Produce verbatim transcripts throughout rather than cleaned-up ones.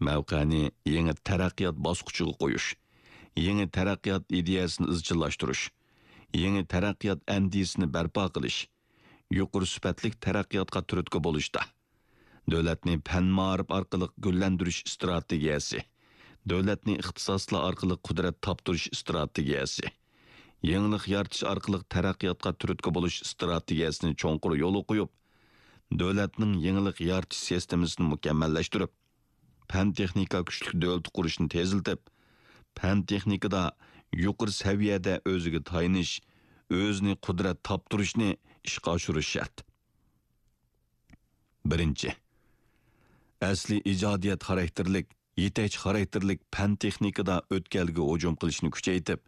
مەۋقەنى يېڭى تەرەققىيات باسقۇچىغا قويۇش، يېڭى تەرەققىيات ئىدىيەسىنى ئىزچىللاشتۇرۇش، يېڭى تەرەققىيات ئەندىزىسىنى بەرپا قىلىش، يۇقىرى سۈپەتلىك تەرەققىياتقا تۈرتكە بولۇشتا، دۆلەتنى پەن-مائارىپ ئارقىلىق گۈللەندۈرۈش ئىستراتېگىيەسى، دۆلەتنى ئىختىساسلار ئارقىلىق قۇدرەت تاپتۇرۇش ئىستراتېگىيەسى، يېڭىلىق يارىتىش ئارقىلىق تەرەققىياتقا تۈرتكە بولۇش ئىستراتېگىيەسىنى چوڭقۇر يولغا قويۇپ، دۆلەتنىڭ يېڭىلىق يارىتىش سىستېمىسىنى مۇكەممەللەشتۈرۈپ، پەن-تېخنىكا كۈچلۈك دۆلىتى قۇرۇشنى تېزلىتىپ، پەن-تېخنىكىدا يۇقىرى سەۋىيەدە ئۆزىگە تايىنىش، ئۆزىنى قۇدرەت تاپتۇرۇشنى ئىشقا ئاشۇرۇش شەرت. بىرىنچى، ئەسلىي ئىجادىيەت خاراكتېرلىك، يېتەكچى خاراكتېرلىك پەن-تېخنىكىدا ئۆتكەلگە ھۇجۇم قىلىشنى كۈچەيتىپ،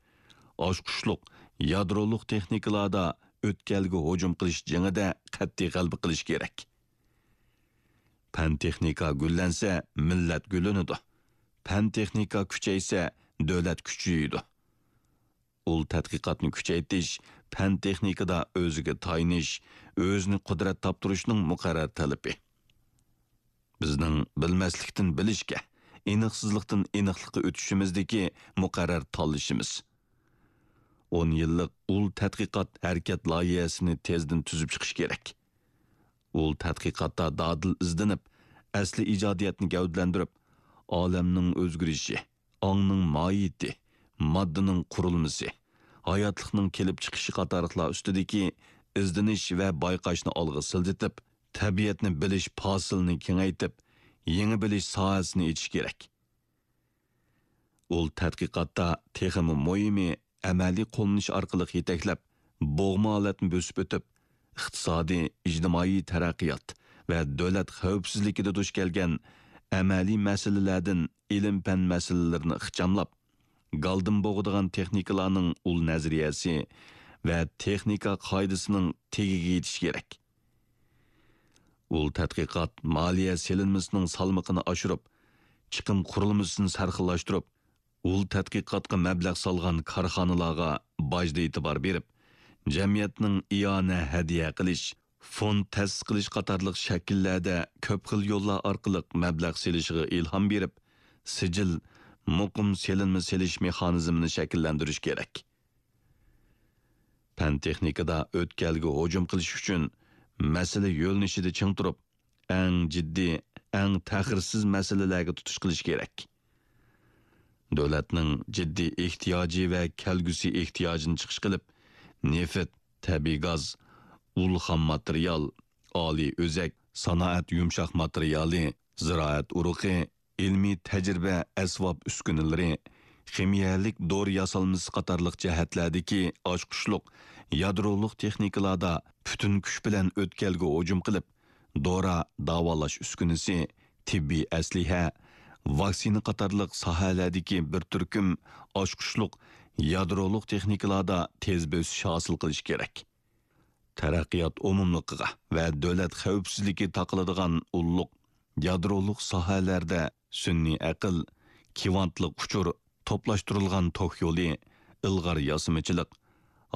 ئاچقۇچلۇق يادرولۇق تېخنىكىلاردا ئۆتكەلگە ھۇجۇم قىلىش جېڭىدە قەتئىي غەلىبە قىلىش كېرەك. پەن-تېخنىكا گۈللەنسە، مىللەت گۈللىنىدۇ. پەن-تېخنىكا كۈچەيسە، دۆلەت كۈچىيىدۇ. ئۇل تەتقىقاتنى كۈچەيتىش، پەن-تېخنىكىدا ئۆزىگە تايىنىش، ئۆزىنى قۇدرەت تاپتۇرۇشنىڭ مۇقەررەر تەلىپى. بىزنىڭ بىلمەسلىكتىن بىلىشكە، ئېنىقسىزلىقتىن ئېنىقلىققا ئۆتۈشىمىزدىكى مۇقەررەر تاللىشىمىز. ئون يىللىق ئۇل تەتقىقات ھەرىكەت لايىھەسىنى تېزدىن تۈزۈپ چىقىش كېرەك. ئۇل تەتقىقاتتا دادىل ئىزدىنىپ، ئەسلىي ئىجادىيەتنى گەۋدىلەندۈرۈپ، ئالەمنىڭ ئۆزگىرىشى، ئاڭنىڭ ماھىيىتى، ماددىنىڭ قۇرۇلمىسى، ھاياتلىقنىڭ كېلىپ چىقىشى قاتارلىقلار ئۈستىدىكى ئىزدىنىش ۋە بايقاشنى ئالغا سىلجىتىپ، تەبىئەتنى بىلىش پاسىلىنى كېڭەيتىپ، يېڭى بىلىش ساھەسىنى ئېچىش كېرەك. ئۇل تەتقىقاتتا تېخىمۇ مۇھىمى، ئەمەلىي قوللىنىش ئارقىلىق يېتەكلەپ، بوغما ھالەتنى بۆسۈپ ئۆتۈپ، ئىقتىسادىي، ئىجتىمائىي تەرەققىيات ۋە دۆلەت خەۋپسىزلىكىدە دۇچ كەلگەن ئەمەلىي مەسىلىلەردىن ئىلىم-پەن مەسىلىلىرىنى ئىخچاملاپ، گالدىن بوغىدىغان تېخنىكىلارنىڭ ئۇل نەزەرىيەسى ۋە تېخنىكا قائىدىسىنىڭ تېگىگە يېتىش كېرەك. ئۇل تەتقىقات مالىيە سېلىنمىسىنىڭ سالمىقىنى ئاشۇرۇپ، چىقىم قۇرۇلمىسىنى سەرخىللاشتۇرۇپ، ئۇل تەتقىقاتقا مەبلەغ سالغان كارخانىلارغا باجدا ئېتىبار بېرىپ، جەمئىيەتنىڭ ئىئانە ھەدىيە قىلىش، فوند تەسىس قىلىش قاتارلىق شەكىللەردە كۆپ خىل يوللار ئارقىلىق مەبلەغ سېلىشىغا ئىلھام بېرىپ، سىجىل، مۇقىم سېلىنما سېلىش مېخانىزمىنى شەكىللەندۈرۈش كېرەك. پەن-تېخنىكىدا ئۆتكەلگە ھۇجۇم قىلىش ئۈچۈن مەسىلە يۆنىلىشىدە چىڭ تۇرۇپ، ئەڭ جىددىي، ئەڭ تەخىرسىز مەسىلىلەرگە تۇتۇش قىلىش كېرەك. دۆلەتنىڭ جىددىي ئېھتىياجى ۋە كەلگۈسى ئېھتىياجىنى چىقىش قىلىپ، نېفىت، تەبىئىي گاز، ئۇل خام ماتېرىيال، ئالىي ئۆزەك، سانائەت يۇمشاق ماتېرىيالى، زىرائەت ئۇرۇقى، ئىلمىي تەجرىبە ئەسۋاب ئۈسكۈنىلىرى، خىمىيەلىك دورا ياسالمىسى قاتارلىق جەھەتلەردىكى ئاچقۇچلۇق يادرولۇق تېخنىكىلاردا پۈتۈن كۈچ بىلەن ئۆتكەلگە ھۇجۇم قىلىپ، دورا، داۋالاش ئۈسكۈنىسى، تېببىي ئەسلىھە، ۋاكسىنا قاتارلىق ساھەلەردىكى بىر تۈركۈم ئاچقۇچلۇق يادرولۇق تېخنىكىلاردا تېز بۆسۈش ھاسىل قىلىش كېرەك. تەرەققىيات ئومۇملۇقىغا ۋە دۆلەت خەۋپسىزلىكى تاقىلىدىغان ئۇللۇق يادرولۇق ساھەلەردە سۈنئىي ئەقىل، كۋانتلىق ئۇچۇر، توپلاشتۇرۇلغان توك يولى، ئىلغار ياسىمىچىلىق،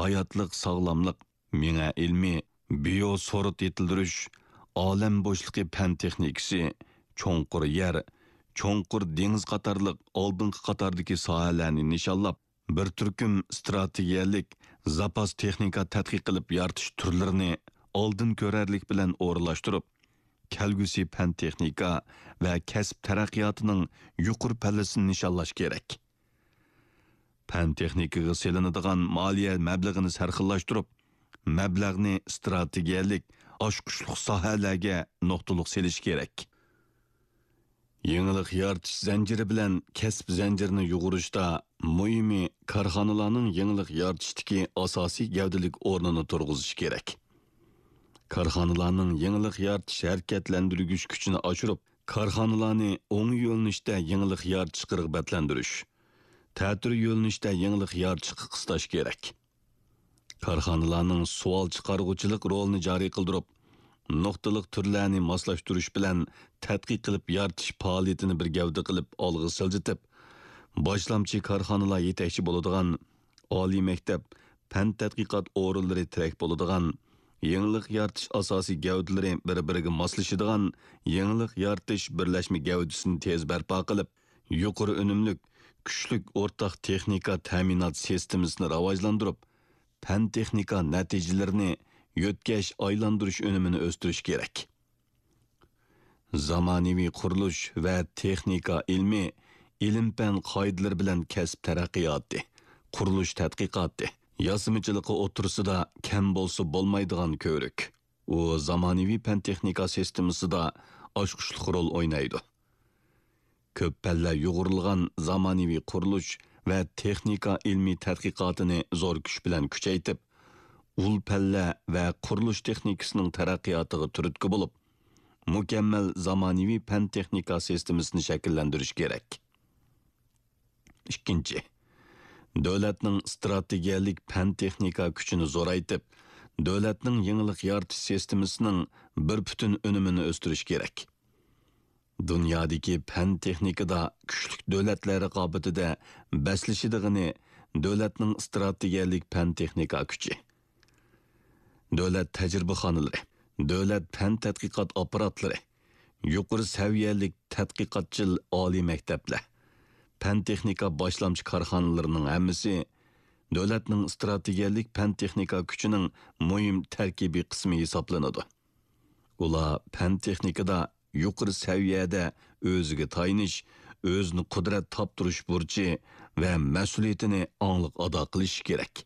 ھاياتلىق ساغلاملىق، مېڭە ئىلمى، بىيو سورۇت يېتىلدۈرۈش، ئالەم بوشلۇقى پەن تېخنىكىسى، چوڭقۇر يەر، چوڭقۇر دېڭىز قاتارلىق ئالدىنقى قاتاردىكى ساھەلەرنى نىشانلاپ، بىر تۈركۈم ئىستراتېگىيەلىك زاپاس تېخنىكا تەتقىق قىلىپ يارىتىش تۈرلىرىنى ئالدىن كۆرەرلىك بىلەن ئورۇنلاشتۇرۇپ، كەلگۈسى پەن-تېخنىكا ۋە كەسىپ تەرەققىياتىنىڭ يۇقىرى پەللىسىنى نىشانلاش كېرەك. پەن-تېخنىكىغا سېلىنىدىغان مالىيە مەبلىغىنى سەرخىللاشتۇرۇپ، مەبلەغنى ئىستراتېگىيەلىك، ئاچقۇچلۇق ساھەلەرگە نۇقتىلىق سېلىش كېرەك. يېڭىلىق يارىتىش زەنجىرى بىلەن كەسىپ زەنجىرىنى يۇغۇرۇشتا مۇھىمى، كارخانىلارنىڭ يېڭىلىق يارىتىشتىكى ئاساسىي گەۋدىلىك ئورنىنى تۇرغۇزۇش كېرەك. كارخانىلارنىڭ يېڭىلىق يارىتىش ھەرىكەتلەندۈرگۈچ كۈچىنى ئاشۇرۇپ، كارخانىلارنى ئوڭ يۆنىلىشتە يېڭىلىق يارىتىشقا رىغبەتلەندۈرۈش، تەتۈر يۆنىلىشتە يېڭىلىق يارىتىشقا قىستاش كېرەك. كارخانىلارنىڭ سوئال چىقارغۇچىلىق رولىنى جارى قىلدۇرۇپ، نۇقتىلىق تۈرلەرنى ماسلاشتۇرۇش بىلەن تەتقىق قىلىپ يارىتىش پائالىيىتىنى بىر گەۋدە قىلىپ ئالغا سىلجىتىپ، باشلامچى كارخانىلار يېتەكچى بولىدىغان ئالىي مەكتەپ، پەن تەتقىقات ئورۇنلىرى تىرەك بولىدىغان يېڭىلىق يارىتىش ئاساسىي گەۋدىلىرى بىر-بىرىگە ماسلىشىدىغان يېڭىلىق يارىتىش بىرلەشمە گەۋدىسىنى تېز بەرپا قىلىپ، يۇقىرى ئۈنۈملۈك، كۈچلۈك ئورتاق تېخنىكا تەمىنات سىستېمىسىنى راۋاجلاندۇرۇپ، پەن-تېخنىكا نەتىجىلىرىنى يۆتكەش، ئايلاندۇرۇش ئۈنۈمىنى ئۆستۈرۈش كېرەك. زامانىۋى قۇرۇلۇش ۋە تېخنىكا ئىلمى ئىلىم-پەن قائىدىلىرى بىلەن كەسىپ تەرەققىياتى، قۇرۇلۇش تەتقىقاتى، ياسىمىچىلىقى ئوتتۇرىسىدا كەم بولسا بولمايدىغان كۆۋرۈك. ئۇ زامانىۋى پەن-تېخنىكا سىستېمىسىدا ئاچقۇچلۇق رول ئوينايدۇ. كۆپ پەللە يۇغۇرۇلغان زامانىۋى قۇرۇلۇش ۋە تېخنىكا ئىلمىي تەتقىقاتىنى زور كۈچ بىلەن كۈچەيتىپ، ئۇل پەللە ۋە قۇرۇلۇش تېخنىكىسىنىڭ تەرەققىياتىغا تۈرتكە بولۇپ، مۇكەممەل زامانىۋى پەن-تېخنىكا سىستېمىسىنى شەكىللەندۈرۈش كېرەك. ئىككىنچى، دۆلەتنىڭ ئىستراتېگىيەلىك پەن-تېخنىكا كۈچىنى زورايتىپ، دۆلەتنىڭ يېڭىلىق يارىتىش سىستېمىسىنىڭ بىر پۈتۈن ئۈنۈمىنى ئۆستۈرۈش كېرەك. دۇنيادىكى پەن-تېخنىكىدا كۈچلۈك دۆلەتلەر رىقابىتىدە بەسلىشىدىغىنى دۆلەتنىڭ ئىستراتېگىيەلىك پەن-تېخنىكا كۈچى. دۆلەت تەجرىبىخانىلىرى، دۆلەت پەن تەتقىقات ئاپپاراتلىرى، يۇقىرى سەۋىيەلىك تەتقىقاتچىل ئالىي مەكتەپلەر، پەن-تېخنىكا باشلامچى كارخانىلىرىنىڭ ھەممىسى دۆلەتنىڭ ئىستراتېگىيەلىك پەن-تېخنىكا كۈچىنىڭ مۇھىم تەركىبىي قىسمى ھېسابلىنىدۇ. ئۇلار پەن-تېخنىكىدا يۇقىرى سەۋىيەدە ئۆزىگە تايىنىش، ئۆزىنى قۇدرەت تاپتۇرۇش بۇرچى ۋە مەسئۇلىيىتىنى ئاڭلىق ئادا قىلىشى كېرەك.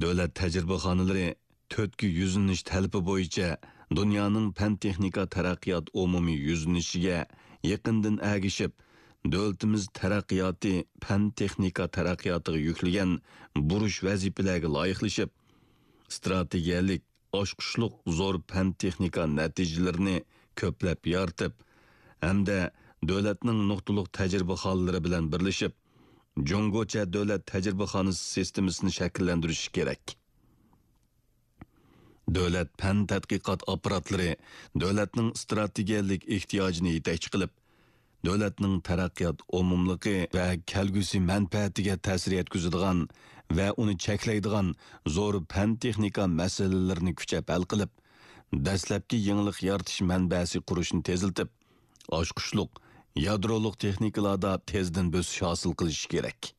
دۆلەت تەجرىبىخانىلىرى تۆتكە يۈزلىنىش تەلىپى بويىچە دۇنيانىڭ پەن-تېخنىكا تەرەققىيات ئومۇمىي يۈزلىنىشىگە يېقىندىن ئەگىشىپ، دۆلىتىمىز تەرەققىياتى پەن-تېخنىكا تەرەققىياتىغا يۈكلىگەن بۇرچ ۋەزىپىلەرگە لايىقلىشىپ، ئىستراتېگىيەلىك، ئاچقۇچلۇق زور پەن-تېخنىكا نەتىجىلىرىنى كۆپلەپ يارىتىپ ھەمدە دۆلەتنىڭ نۇقتىلىق تەجرىبىخانىلىرى بىلەن بىرلىشىپ، جۇڭگوچە دۆلەت تەجرىبىخانىسى سىستېمىسىنى شەكىللەندۈرۈشى كېرەك. دۆلەت پەن تەتقىقات ئاپپاراتلىرى دۆلەتنىڭ ئىستراتېگىيەلىك ئېھتىياجىنى يېتەكچى قىلىپ، دۆلەتنىڭ تەرەققىيات ئومۇملۇقى ۋە كەلگۈسى مەنپەئەتىگە تەسىر يەتكۈزىدىغان ۋە ئۇنى چەكلەيدىغان زور پەن-تېخنىكا مەسىلىلىرىنى كۈچەپ ھەل قىلىپ، دەسلەپكى يېڭىلىق يارىتىش مەنبەسى قۇرۇشنى تېزلىتىپ، ئاچقۇچلۇق، يادرولۇق تېخنىكىلاردا تېزدىن بۆسۈش ھاسىل قىلىشى كېرەك.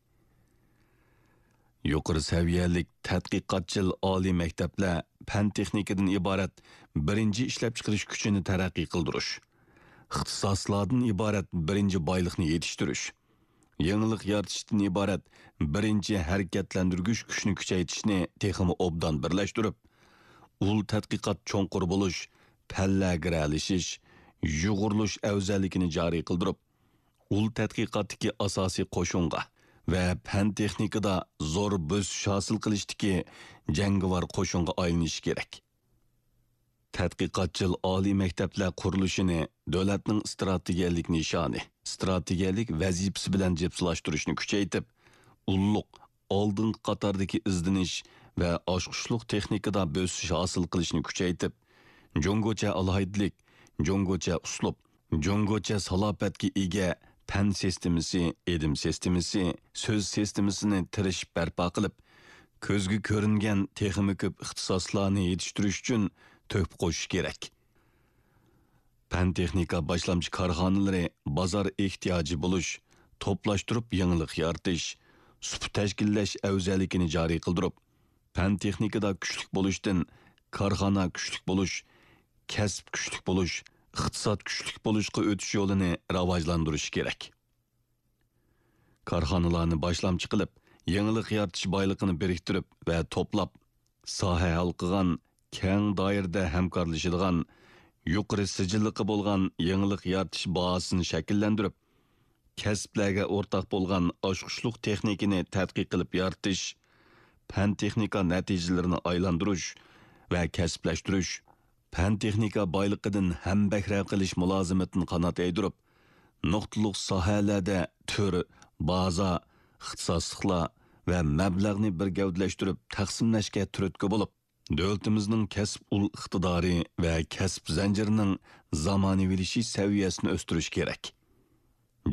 يۇقىرى سەۋىيەلىك تەتقىقاتچىل ئالىي مەكتەپلەر پەن-تېخنىكىدىن ئىبارەت بىرىنچى ئىشلەپچىقىرىش كۈچىنى تەرەققىي قىلدۇرۇش، ئىختىساسلاردىن ئىبارەت بىرىنچى بايلىقنى يېتىشتۈرۈش، يېڭىلىق يارىتىشتىن ئىبارەت بىرىنچى ھەرىكەتلەندۈرگۈچ كۈچنى كۈچەيتىشنى تېخىمۇ ئوبدان بىرلەشتۈرۈپ، ئۇل تەتقىقات چوڭقۇر بولۇش، پەنلەر گىرەلىشىش، يۇغۇرۇلۇش ئەۋزەللىكىنى جارى قىلدۇرۇپ، ئۇل تەتقىقاتتىكى ئاساسىي قوشۇنغا ۋە پەن-تېخنىكىدا زور بۆسۈش ھاسىل قىلىشتىكى جەڭگىۋار قوشۇنغا ئايلىنىشى كېرەك. تەتقىقاتچىل ئالىي مەكتەپلەر قۇرۇلۇشىنى دۆلەتنىڭ ئىستراتېگىيەلىك نىشانى، ئىستراتېگىيەلىك ۋەزىپىسى بىلەن جىپسىلاشتۇرۇشنى كۈچەيتىپ، ئۇللۇق، ئالدىنقى قاتاردىكى ئىزدىنىش ۋە ئاچقۇچلۇق تېخنىكىدا بۆسۈش ھاسىل قىلىشنى كۈچەيتىپ، جۇڭگوچە ئالاھىدىلىك، جۇڭگوچە ئۇسلۇب، جۇڭگوچە سالاپەتكە ئىگە پەن سىستېمىسى، ئىلىم سىستېمىسى، سۆز سىستېمىسىنى تىرىشىپ بەرپا قىلىپ، كۆزگە كۆرۈنگەن تېخىمۇ كۆپ ئىختىساسلارنى يېتىشتۈرۈش ئۈچۈن تۆھپە قوشۇش كېرەك. پەن-تېخنىكا باشلامچى كارخانىلىرى بازار ئېھتىياجى بولۇش، توپلاشتۇرۇپ يېڭىلىق يارىتىش، سۇپا تەشكىللەش ئەۋزەللىكىنى جارى قىلدۇرۇپ، پەن-تېخنىكىدا كۈچلۈك بولۇشتىن كارخانا كۈچلۈك بولۇش، كەسىپ كۈچلۈك بولۇش، ئىقتىساد كۈچلۈك بولۇشقا ئۆتۈش يولىنى راۋاجلاندۇرۇشى كېرەك. كارخانىلارنى باشلامچى قىلىپ، يېڭىلىق يارىتىش بايلىقىنى بىرىكتۈرۈپ ۋە توپلاپ، ساھە ھالقىغان، كەڭ دائىرىدە ھەمكارلىشىدىغان، يۇقىرى سىجىللىقى بولغان يېڭىلىق يارىتىش بازىسىنى شەكىللەندۈرۈپ، كەسىپلەرگە ئورتاق بولغان ئاچقۇچلۇق تېخنىكىنى تەتقىق قىلىپ يارىتىش، پەن-تېخنىكا نەتىجىلىرىنى ئايلاندۇرۇش ۋە كەسىپلەشتۈرۈش، پەن-تېخنىكا بايلىقىدىن ھەمبەھرە قىلىش مۇلازىمىتىنى قانات يايدۇرۇپ، نۇقتىلىق ساھەلەردە تۈر، بازا، ئىختىساسلىقلار ۋە مەبلەغنى بىر گەۋدىلەشتۈرۈپ تەقسىملەشكە تۈرتكە بولۇپ، دۆلىتىمىزنىڭ كەسىپ ئۇل ئىقتىدارى ۋە كەسىپ زەنجىرىنىڭ زامانىۋىلىشىش سەۋىيەسىنى ئۆستۈرۈش كېرەك.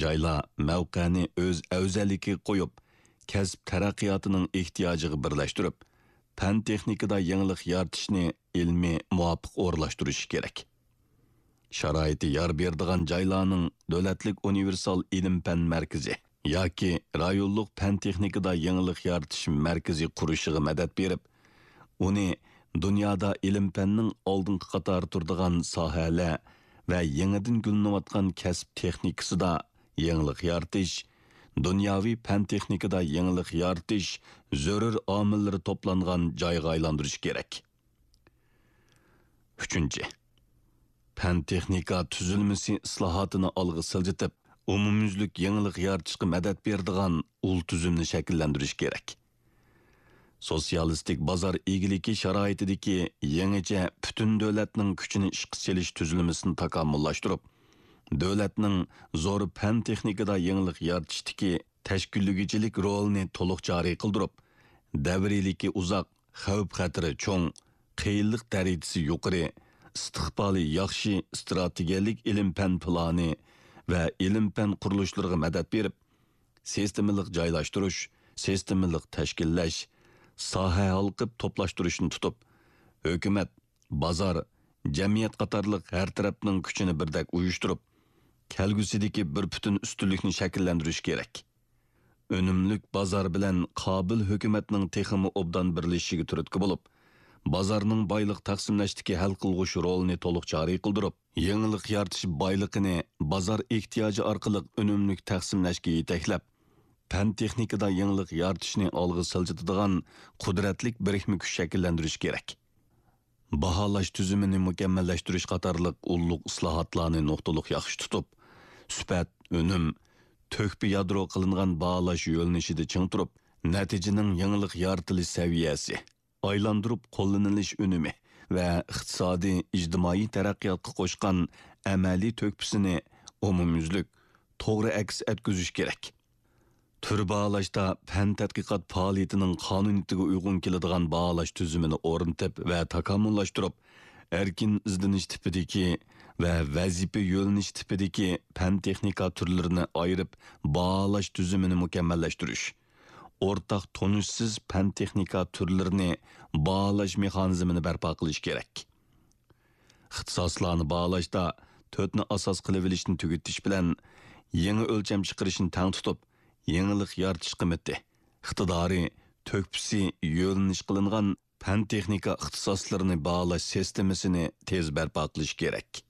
جايلار مەۋقەنى ئۆز ئەۋزەللىكىگە قويۇپ، كەسىپ تەرەققىياتىنىڭ ئېھتىياجىغا بىرلەشتۈرۈپ، پەن-تېخنىكىدا يېڭىلىق يارىتىشنى ئىلمىي مۇۋاپىق ئورۇنلاشتۇرۇشى كېرەك. شارائىتى يار بېرىدىغان جايلارنىڭ دۆلەتلىك ئۇنىۋېرسال ئىلىم-پەن مەركىزى ياكى رايونلۇق پەن-تېخنىكىدا يېڭىلىق يارىتىش مەركىزى قۇرۇشىغا مەدەت بېرىپ، ئۇنى دۇنيادا ئىلىم-پەننىڭ ئالدىنقى قاتاردا تۇرىدىغان ساھەلەر ۋە يېڭىدىن گۈللىنىۋاتقان كەسىپ تېخنىكىسىدا يېڭىلىق يارىتىش، دۇنياۋى پەن-تېخنىكىدا يېڭىلىق يارىتىش زۆرۈر ئامىللىرى توپلانغان جايغا ئايلاندۇرۇش كېرەك. ئۈچىنچى، پەن-تېخنىكا تۈزۈلمىسى ئىسلاھاتىنى ئالغا سىلجىتىپ، ئومۇميۈزلۈك يېڭىلىق يارىتىشقا مەدەت بېرىدىغان ئۇل تۈزۈمنى شەكىللەندۈرۈش كېرەك. سوتسىيالىستىك بازار ئىگىلىكى شارائىتىدىكى يېڭىچە پۈتۈن دۆلەتنىڭ كۈچىنى ئىشقا سېلىش تۈزۈلمىسىنى تاكامۇللاشتۇرۇپ، دۆلەتنىڭ زور پەن-تېخنىكىدا يېڭىلىق يارىتىشتىكى تەشكىللىگۈچىلىك رولىنى تولۇق جارى قىلدۇرۇپ، دەۋرىيلىكى ئۇزاق، خەۋپ-خەتىرى چوڭ، قىيىنلىق دەرىجىسى يۇقىرى، ئىستىقبالى ياخشى ئىستراتېگىيەلىك ئىلىم-پەن پىلانى ۋە ئىلىم-پەن قۇرۇلۇشلىرىغا مەدەت بېرىپ، سىستېمىلىق جايلاشتۇرۇش، سىستېمىلىق تەشكىللەش، ساھە ھالقىپ توپلاشتۇرۇشنى تۇتۇپ، ھۆكۈمەت، بازار، جەمئىيەت قاتارلىق ھەر تەرەپنىڭ كۈچىنى بىردەك ئۇيۇشتۇرۇپ، كەلگۈسىدىكى بىر پۈتۈن ئۈستۈنلۈكنى شەكىللەندۈرۈش كېرەك. ئۈنۈملۈك بازار بىلەن قابىل ھۆكۈمەتنىڭ تېخىمۇ ئوبدان بىرلىشىشىگە تۈرتكە بولۇپ، بازارنىڭ بايلىق تەقسىملەشتىكى ھەل قىلغۇچ رولىنى تولۇق جارى قىلدۇرۇپ، يېڭىلىق يارىتىش بايلىقىنى بازار ئېھتىياجى ئارقىلىق ئۈنۈملۈك تەقسىملەشكە يېتەكلەپ، پەن-تېخنىكىدا يېڭىلىق يارىتىشنى ئالغا سىلجىتىدىغان قۇدرەتلىك بىرىكمە كۈچ شەكىللەندۈرۈش كېرەك. باھالاش تۈزۈمىنى مۇكەممەللەشتۈرۈش قاتارلىق ئۇللۇق ئىسلاھاتلارنى نۇقتىلىق ياخشى تۇتۇپ، سۈپەت، ئۈنۈم، تۆھپە يادرو قىلىنغان باھالاش يۆنىلىشىدە چىڭ تۇرۇپ، نەتىجىنىڭ يېڭىلىق يارىتىلىش سەۋىيەسى، ئايلاندۇرۇپ قوللىنىلىش ئۈنۈمى ۋە ئىقتىسادىي، ئىجتىمائىي تەرەققىياتقا قوشقان ئەمەلىي تۆھپىسىنى ئومۇميۈزلۈك، توغرا ئەكس ئەتكۈزۈش كېرەك. تۈر باھالاشتا پەن تەتقىقات پائالىيىتىنىڭ قانۇنىيىتىگە ئۇيغۇن كېلىدىغان باھالاش تۈزۈمىنى ئورنىتىپ ۋە تاكامۇللاشتۇرۇپ، ئەركىن ئىزدىنىش تىپىدىكى ۋە ۋەزىپە يۆنىلىش تىپىدىكى پەن تېخنىكا تۈرلىرىنى ئايرىپ باھالاش تۈزۈمىنى مۇكەممەللەشتۈرۈش، ئورتاق تونۇشسىز پەن تېخنىكا تۈرلىرىنى باھالاش مېخانىزمىنى بەرپا قىلىش كېرەك. ئىختىساسلارنى باھالاشتا تۆتنى ئاساس قىلىۋېلىشنى تۈگىتىش بىلەن، يېڭى ئۆلچەم چىقىرىشنى تەڭ تۇتۇپ، يېڭىلىق يارىتىش قىممىتى، ئىقتىدارى، تۆھپىسى يۆنىلىش قىلىنغان پەن-تېخنىكا ئىختىساسلىرىنى باھالاش سىستېمىسىنى تېز بەرپا قىلىش كېرەك.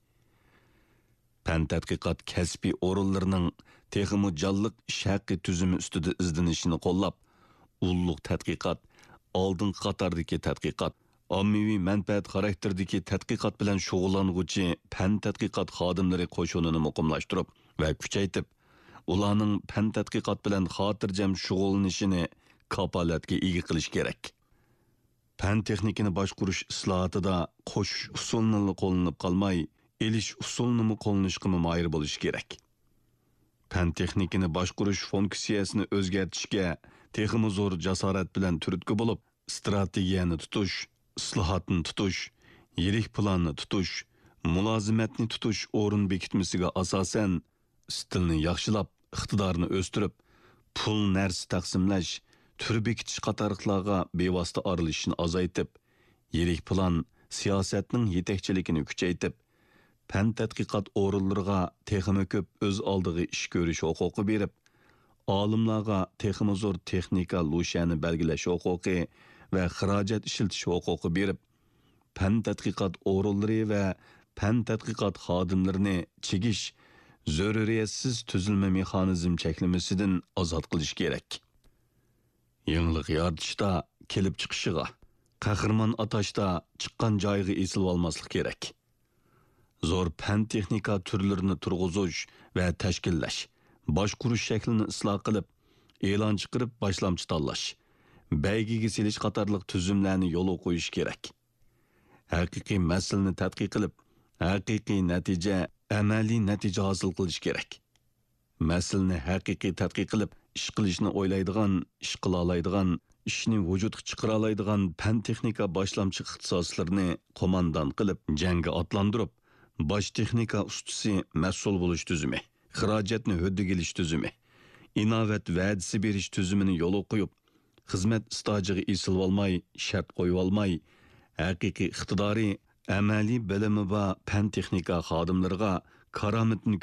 پەن تەتقىقات كەسپىي ئورۇنلىرىنىڭ تېخىمۇ جانلىق ئىش ھەققى تۈزۈمى ئۈستىدە ئىزدىنىشىنى قوللاپ، ئۇللۇق تەتقىقات، ئالدىنقى قاتاردىكى تەتقىقات، ئاممىۋى مەنپەئەت خاراكتېرىدىكى تەتقىقات بىلەن شۇغۇللانغۇچى پەن تەتقىقات خادىملىرى قوشۇنىنى مۇقىملاشتۇرۇپ ۋە كۈچەيتىپ، ئۇلارنىڭ پەن تەتقىقات بىلەن خاتىرجەم شۇغۇللىنىشىنى كاپالەتكە ئىگە قىلىش كېرەك. پەن-تېخنىكىنى باشقۇرۇش ئىسلاھاتىدا قوشۇش ئۇسۇلىنىلا قوللىنىپ قالماي، ئېلىش ئۇسۇلىنىمۇ قوللىنىشقىمۇ ماھىر بولۇش كېرەك. پەن-تېخنىكىنى باشقۇرۇش فۇنكسىيەسىنى ئۆزگەرتىشكە تېخىمۇ زور جاسارەت بىلەن تۈرتكە بولۇپ، ئىستراتېگىيەنى تۇتۇش، ئىسلاھاتنى تۇتۇش، يىرىك پىلاننى تۇتۇش، مۇلازىمەتنى تۇتۇش ئورۇن بېكىتمىسىگە ئاساسەن، ئىستىلنى ياخشىلاپ، ئىقتىدارنى ئۆستۈرۈپ، پۇل، نەرسە تەقسىملەش، تۈر بېكىتىش قاتارلىقلارغا بىۋاسىتە ئارىلىشىشنى ئازايتىپ، يىرىك پىلان، سىياسەتنىڭ يېتەكچىلىكىنى كۈچەيتىپ، پەن تەتقىقات ئورۇنلىرىغا تېخىمۇ كۆپ ئۆز ئالدىغا ئىش كۆرۈش ھوقۇقى بېرىپ، ئالىملارغا تېخىمۇ زور تېخنىكا لۇشيەنى بەلگىلەش ھوقۇقى ۋە خىراجەت ئىشلىتىش ھوقۇقى بېرىپ، پەن تەتقىقات ئورۇنلىرى ۋە پەن تەتقىقات خادىملىرىنى چىگىش زۆرۈرىيەتسىز تۈزۈلمە مېخانىزم چەكلىمىسىدىن ئازاد قىلىش كېرەك. يېڭىلىق يارىتىشتا كېلىپ چىقىشىغا، قەھرىمان ئاتاشتا چىققان جايىغا ئېسىلىۋالماسلىق كېرەك. زور پەن-تېخنىكا تۈرلىرىنى تۇرغۇزۇش ۋە تەشكىللەش، باشقۇرۇش شەكلىنى ئىسلاھ قىلىپ، ئېلان چىقىرىپ باشلامچى تاللاش، بەيگىگە سېلىش قاتارلىق تۈزۈملەرنى يولغا قويۇش كېرەك. ھەقىقىي مەسىلىنى تەتقىق قىلىپ، ھەقىقىي نەتىجە، ئەمەلىي نەتىجە ھاسىل قىلىش كېرەك. مەسىلىنى ھەقىقىي تەتقىق قىلىپ، ئىش قىلىشنى ئويلايدىغان، ئىش قىلالايدىغان، ئىشنى ۋۇجۇدقا چىقىرالايدىغان پەن-تېخنىكا باشلامچى ئىختىساسلىرىنى قوماندان قىلىپ، جەڭگە ئاتلاندۇرۇپ، باش تېخنىكا ئۇستىسى مەسئۇل بولۇش تۈزۈمى، خىراجەتنى ھۆددىگە ئېلىش تۈزۈمى، ئىناۋەت ۋەدىسى بېرىش تۈزۈمىنى يولغا قويۇپ، خىزمەت ئىستاژىغا ئېسىلىۋالماي، شەرت قويۇۋالماي، ھەقىقىي ئىقتىدارى، ئەمەلىي بىلىمى بار پەن-تېخنىكا خادىملىرىغا كارامىتىنى